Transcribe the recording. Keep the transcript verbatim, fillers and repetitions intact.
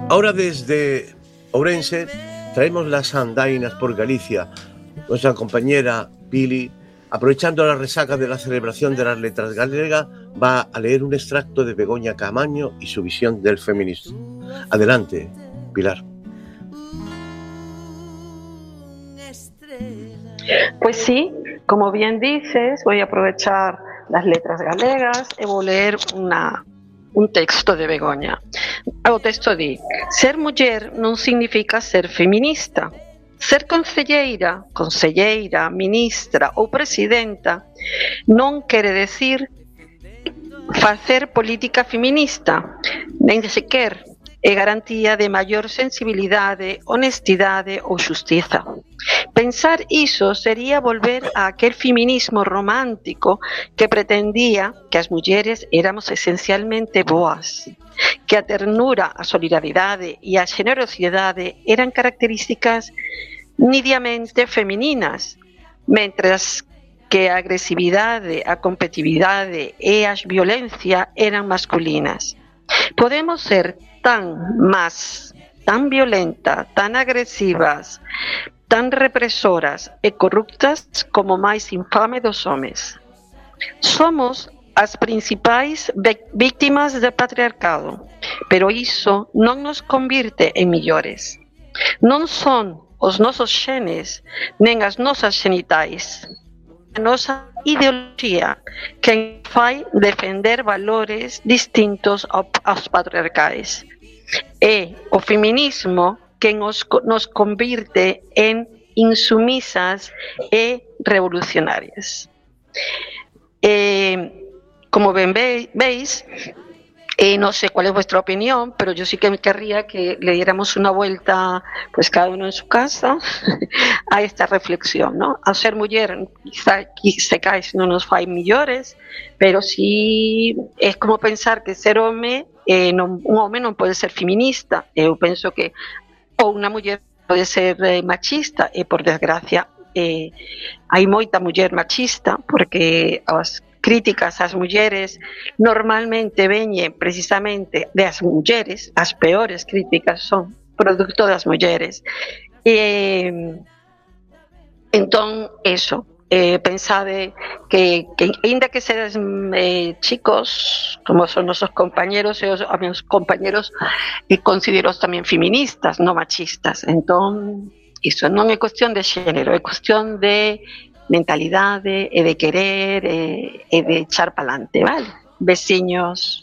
Ahora desde Ourense traemos las andainas por Galicia. Nuestra compañera Pili, aprovechando la resaca de la celebración de las letras galegas, va a leer un extracto de Begoña Caamaño y su visión del feminismo. Adelante, Pilar. Pues sí, como bien dices, voy a aprovechar las letras galegas e vou ler una, un texto de Begoña. O texto di: ser muller non significa ser feminista. Ser concelleira, conselleira, ministra ou presidenta non quere decir facer política feminista, nen sequer é garantía de maior sensibilidade, honestidade ou xustiza. Pensar iso sería volver a aquel feminismo romántico que pretendía que as mulleres éramos esencialmente boas, que a ternura, a solidaridade e a xenerosidade eran características nidiamente femininas, mentras que a agresividade, a competitividade e a violencia eran masculinas. Podemos ser tan más, tan violenta, tan agresivas, tan represoras e corruptas como máis infame dos homes. Somos as principais víctimas do patriarcado, pero iso non nos convirte en millores. Non son os nosos xenes nen as nosas xenitais, a nosa ideoloxía que fai defender valores distintos aos patriarcais. É o feminismo que nos, nos convirte en insumisas e revolucionarias. Eh, como ben veis, eh, no sé cuál es vuestra opinión, pero yo sí que me querría que le diéramos una vuelta, pues cada uno en su casa, a esta reflexión, ¿no? Ao ser muller, quizá, quizás non nos fai millores, pero sí es como pensar que ser home, eh, non, un home non pode ser feminista. Eu penso que ou unha muller pode ser eh, machista, e por desgracia eh, hai moita muller machista, porque as críticas ás mulleres normalmente veñen precisamente das mulleres, as peores críticas son producto das mulleres. E, entón, eso, eh, pensade que, que ainda que sedes eh, chicos, como son nosos compañeros, e os, os meus compañeros, e considero tamén feministas, non machistas. Entón, iso non é cuestión de xénero, é cuestión de mentalidade e de querer e, e de echar pa'lante, vale? Veciños.